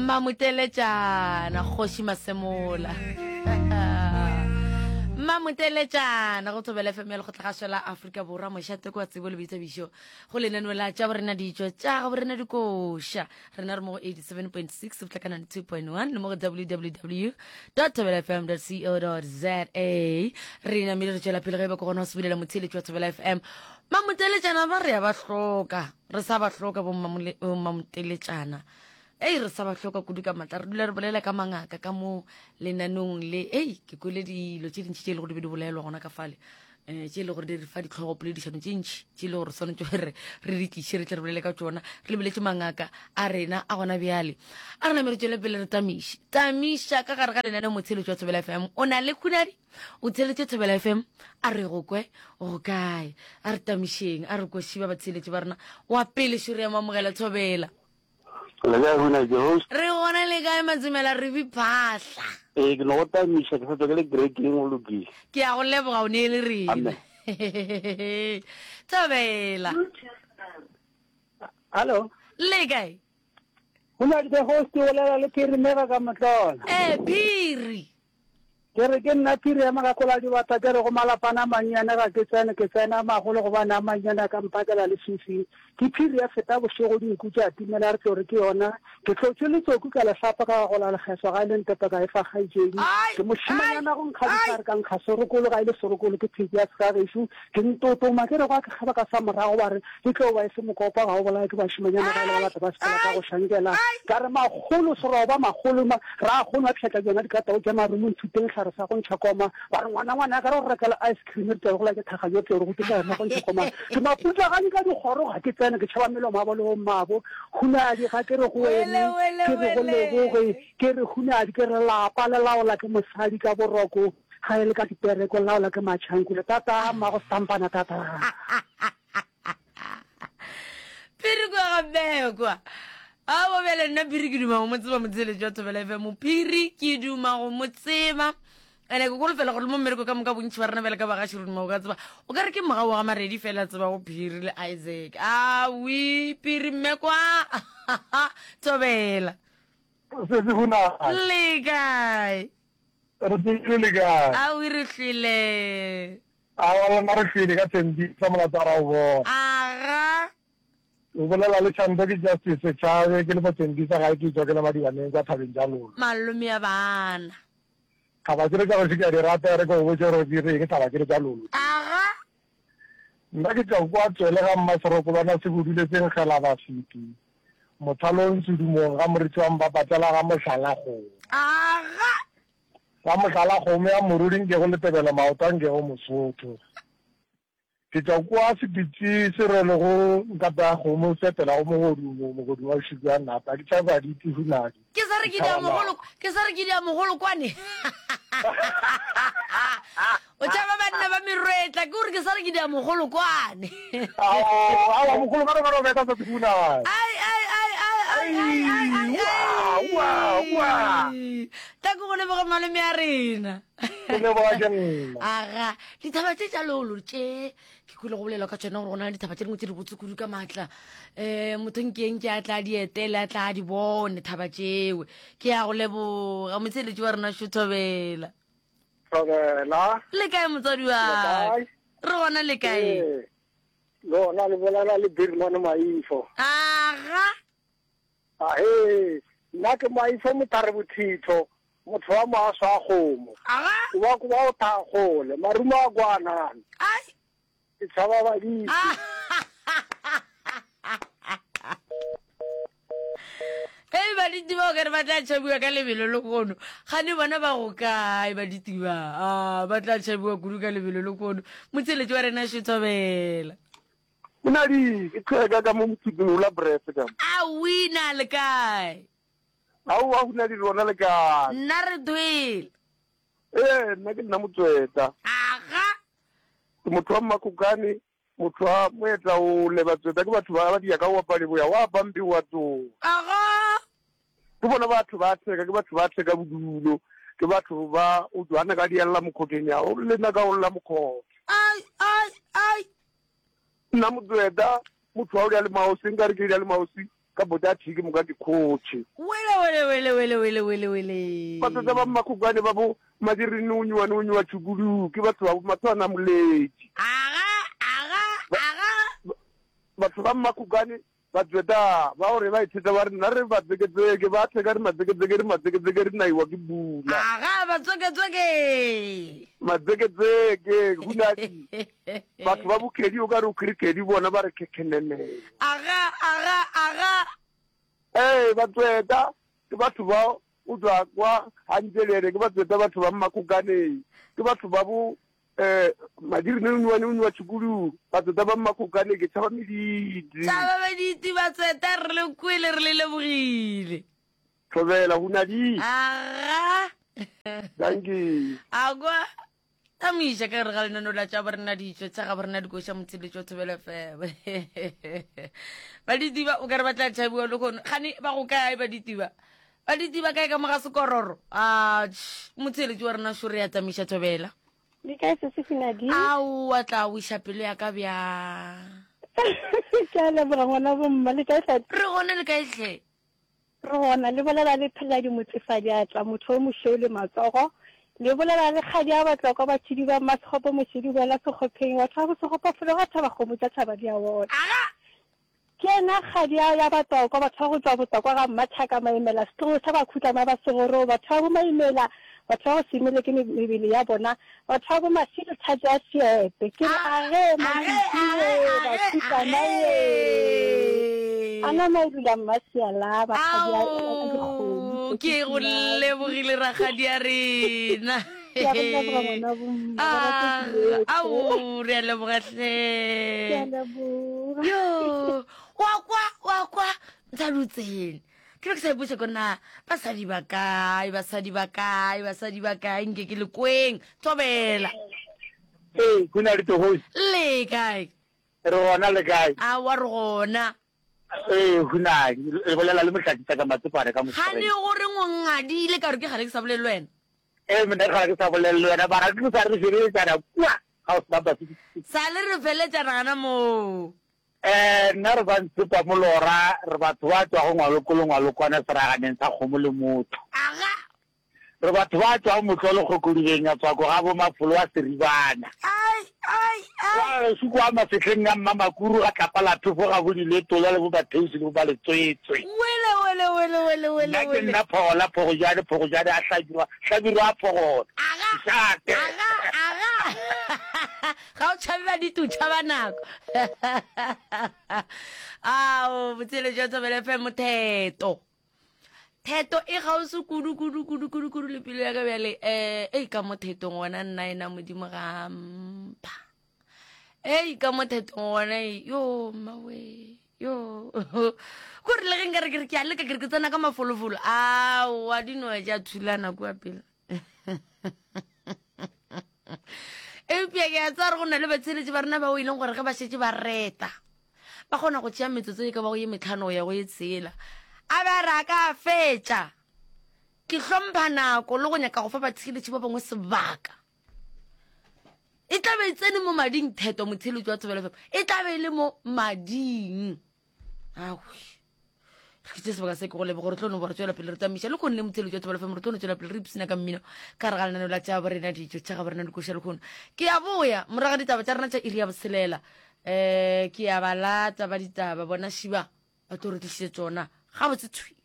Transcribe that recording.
Mmamoteletšana Kgoši Masemola. Mmamoteletšana go Thobela FM ya Lekgotlagašo la Afrika Borwa mošate kwa tsebo le boithabišo go lenaneo la tša borena ditšo tša go borena dikoša. Rena re mo go 87.6 go tla ka 92.1 le mo go www thobelafm co za. Re namile re tšwela pele ge e ba ke gona go sebulela motheeletši wa Thobela FM. Mmamoteletšana ba re ya ba hloka. Re sa ba hloka bommamoteletšana. Ei, re sa ba hloka kudu ka matla. Re dula re bolela ka mangaka ka mo lenanong le. Ei, ke kwele dilo tše dintši tše e le gore di be di bolelwa gona ka fale. Um tše e le gore di re fa ditlhogopoledišano tše ntši tše e le gore swanetše gore re di tliše re tle re bolele ka tšona. Re lebeletše mangaka a rena a gona bjale. A re name re tšwele pele re tamiše. Tamiša ka gare ga lenaneo motheeletši wa Thobela FM. O na le khunadi? O theeletše Thobela FM? A re go kwe go kae? A re tamišeng, a re kweši ba batheeletši ba rena. Wa pele šo re ya mo amogela Thobela. Le kae Huna ke host? Re gona le kae Matsomela re bi phahla. Ee ke no go tamiša ke sa tswa ke le kerekeng o lokile. Ke a go leboga o neele rena. Amen. Thobela. Hallo. Le kae? Huna ke host o bolela le Phiri Mega ka Motlola. Eh Phiri. Ke re ke nna Phiri ya Magakola Dibata ke re go malapana a mannyane ga ke tsene ke tsena a magolo gobane a mannyane a ka mphakela leswiswing. Ke Phiri ya feta bošego dinku tša timela re tlo re ke yona. Ke hlotše letsoku ka le hlapa ka gagola lekgeswa ga e le ntepe ka e fa kgaetšedi. Ke mošemanyana go nkga dihlare ka nkga serokolo ga e le serokolo ke pheko ya segagešo. Ke ntotoma ke re gwa ke kgaba ka sa morago ba re E tlo ba e se mokopa ga o bolaye ke bašemanyana ga e le ba bata ba sepela ka go šankela. Ka re makgolo seroba makgolo ma ra go nwa pšhatla tšona dikatao tša marumo nthuteng hlare sa go ntšha koma. Ba re ngwana ngwana ka re go rekela ice cream re tla go la ke thaga yo tle re go tloša sa go ntšha koma. Ke maputlaganye ka dikgoro ga ke tsene ke tšhaba melomo ya bo le bommabo. Hunadi ga ke re go wene ke re go leboge ke re hunadi ke re lapa le laola ke mosadi ka boroko ga e le ka dipereko le laola ke matšhankule. Tata mmago stampana tata. Phiri kwa ga Bekwa. Aowa bjale nna Phiri ke duma go mo tseba motheeletši wa Thobela FM. Phiri ke duma go mo tseba. Ene ke kolofela gore le mo mmereko ka moka bontši ba rena bjale ka bagaši re duma go ka tseba. O ka re ke mogau wa ga Maredi fela tseba go Phiri le Isaac. Awi Phiri mme kwa. Thobela. Sesi Hunadi. Le kae? Re tsogile le kae? Awi re hlwele. Aowa lena re hlwele ka Thembisa molato a ra o bona. Aga. O bolela le Shanto ke Justice Chabe ke le mo Thembisa gae ke tšwa ke le Madibaneng kwa thabeng tša Lolo. Malome ya bana. Thaba tšele tša gešo ke a di rata e re ke go botše gore di reng thaba tšele tša Lolo. Aga. Nna ke tšwa kwa Tswele ga Mmaserokolwana Sebudule se nkgela bafeti mothalong Sedumong ga Moritši wa Mpapatlela ga Mohlalakgomo. Aga. Ka mohlala, kgomo ya morudi nkego letebele maoto a nkego mosotho. Ke tšwa kua Sepitsi se rwelego nkata ya kgomo se etelago mogodumo, mogodumo wa bošego bja nata. Ke tšhaba di tihunadi, Ke sa re ke ke dia tšhaba mogolo, naga. ke sa re ke dia mogolo kwane. O tšhaba banna ba merwetla, ke gore ke sa re ke dia mogolo kwane. Ao, aowa, mogolo ka re beta sa tihunadi. Ai, ai, ai, ai, ai, ai, ai, ai, Ai, ua, ua, ua. ai. Tla ke go leboge malome a rena. Ke leboga ke nna. Aga, dithaba tše tša lolo tše ke kwele go bolelwa ka tšona gore go na le dithaba tše dingwe tše dibotse kudu ka maatla. Um motho nkeng ke a tla di etele a tla di bone thaba tšewe. Ke ya go leboga motsheletši wa rena Šothobela. Thobela. Le kae motswadi wa Le kae? Re gona le kae? Ee. Lona le bolela le Birman Maifo. Aga. Ahe, nna ke Maifo Mothare Bothitho, motho wa moaso a kgomo. Aga. O ba ko ba o thakgole, marumo a kwanana. Ai. Ke tshaba badisi. Hei baditi ba o kare ba tla tšhabiwa ka lebelo le kono gane bona ba go kae baditi ba a ba tla tšhabiwa kudu ka lebelo le kono motsheletši wa rena šethobela Monadi, ke tlhweka ka mo mothuping o la brese ka mo. A wina le kae? Aowa Hunadi lona le kae? Nna re thwele. Ee, nna ke nna Motsweta. Aga. Ke motho wa Mmakokane, motho wa Moetla o le Batsweta ke batho ba ba dia ka go bapale boya wa pampi wa tsoga. Aga. Ke bona batho ba theka, ke batho ba theka bodulo, ke batho ba o jwana ka diella mokgoteng ya o le nna ka o lla mokgotha. Ai, ai, ai. Nna Motsweta, motho wa o dia le maosi, nkare ke dia le maosi. Ka bota thi ke moka ke khotše. Wele wele wele wele wele wele wele. Batsotsa ba Mmakgokwane ba bo Madirinonywa nonywa tšhukudu ke batho ba bo Mathwana Moletši. Aga aga aga. Batho ba Mmakgokwane ba tsweta ba gore ba itheta ba re nna re batseketseke ba theka re matseketseke re matseketseke re naiwa ke bula. Aga batsweketsweke. Matseketseke hunadi. Batho ba bokhedi o ka re o khirikhedi bona ba re khekhenene. Aga, aga, aga. Ee, batsweta ke batho ba o tšwa kwa Hantšelele, ke batsweta batho ba Mmakgokaneng, ke batho ba bo um Madirinonywane o nywa tšhukudu, batsweta ba Mmakgokaneng, ke tšhaba mediti. Tšhaba mediti batsweta, re le kwele re le lebogile. Thobela, Hunadi. Aga. Dankie. Agwa. Tamiša ka gare ga lenano la tša borena ditšo tša ga borena dikoša motsheletšo wa Thobela FM. Ba ditiba o ka re ba tla tšhabiwa le kgono. Gane ba go kae ba ditiba? Ba ditiba kae ka mo ga sekororo? A motsheletšo wa rena šo re ya tamiša Thobela. Le kae se se Hunadi? Ao a tla wiša pelo ya ka bjang. Ke a leboga ngwana bomma le kae tladi? Re gona le kae hle? Re gona, le bolela le Pheladi Motsefadiatla, motho o mošweu le matsogo. Le bolela le kgadi ya Batlokwa, batšhidi ba Mmasekgopo, mošidi boela sekgopheng, batho ba bosekgopo felo ga thaba kgomo tša thaba di a ona. Aga! Ke yena kgadi ya ya Batlokwa, batho ba go tšwa Botlokwa ga Mmathaka Maimela, setlogolo sa Bakhutlana ba Segoro, batho ba boMaimela, batho ba go se imele ke mebele ya bona, Batho ba bo Mashilo thato ya Seepe. Ke re age Mashilo Bakhutlana ye. Ana Mailula Mmasiala bakgadi a dikgomo. Ke go lebogile rakgadi ya rena. Ke a go leboga ngwana bo mma. Ao re a leboga hle. Ke a leboga. Yo, wa kwa wa kwa ntsalutseng. Ke be ke sa ipotša ko na basadi ba kae, basadi ba kae, basadi ba kae, nke ke le kweng. Thobela. Ee, go na le togosi. Le kae? Re gona le kae? Aowa re gona. Ee, go na le bolela le Mohlakisa ka Matsopane ka Mošoreng. Gane gore o ngadile ka gore ke gale ke sa bolele le wena. Ee, monna ke gale ke sa bolele le wena, mara ke sa re feleletšana kua house number 66. Sa le re feletšana gana moo. Ee, nna re ba Ntshepa Molora, re batho ba tšwago Ngwaloko le Ngwalokwana seraganeng sa kgomo le motho. Aga! Re batho ba tšwago Motlolo Kgokodibeng ya Tswako ga bo Mafolo wa Seribana. Ai, ai, ai! Kwa gešo kwa Mafehleng a Mmamakuru ga Tlapa la Phefo ga bo Diletola le bo Matheusi le bo Maletswetswe. Wele, wele, wele, wele, wele, Nna ke wele. nna Phogola, Phogojane, Phogojane a Hlabirwa, Hlabirwa a Phogola. Aga! Mošate. Aga, aga! Ga o tšhabe baditi, o tšhaba nako. Ao, botshelo jwa Thobela FM motheto. Theto e gausi kudu kudu kudu kudu kudu le pelo ya ka bjale. Eh, ei ka mo thetong gona nna ena modimo ga mpha. Ei ka mo thetong gona yo mawe yo. Ko re le ge nkare ke re ke a leka ke re ke tsena ka mafolofolo. Aowa dinoe tša thulana kua pele. Eupša ke a tseba gore go na le batsheletši ba rena bao e leng gore ge ba šetše ba reta ba kgona go tšea metsotso e ka bago ye metlhano go ya go ye tshela a be a re a ka a fetša. Ke hlompha nako le go nyaka go fa batheeletši ba bangwe sebaka. E tla be e tsene mo mading theto motheeletši wa Thobela FM e tla be e le mo mading. Awe. Re ke sebaka se ke go leboga re tlo no ba re tswela pele re tamiša le kgonne motheletši wa Thobela FM re tlo no tswela pele re ipsina ka mmino ka re ga lenaneo la tša borena dijo tša ga borena dikoša le kgono ke ya boya morago ga ditaba tša rena tša iri ya botshelela um ke ya ba lata ba ditaba bona šiba ba tlo re tlišitše tsona gabotse thwi.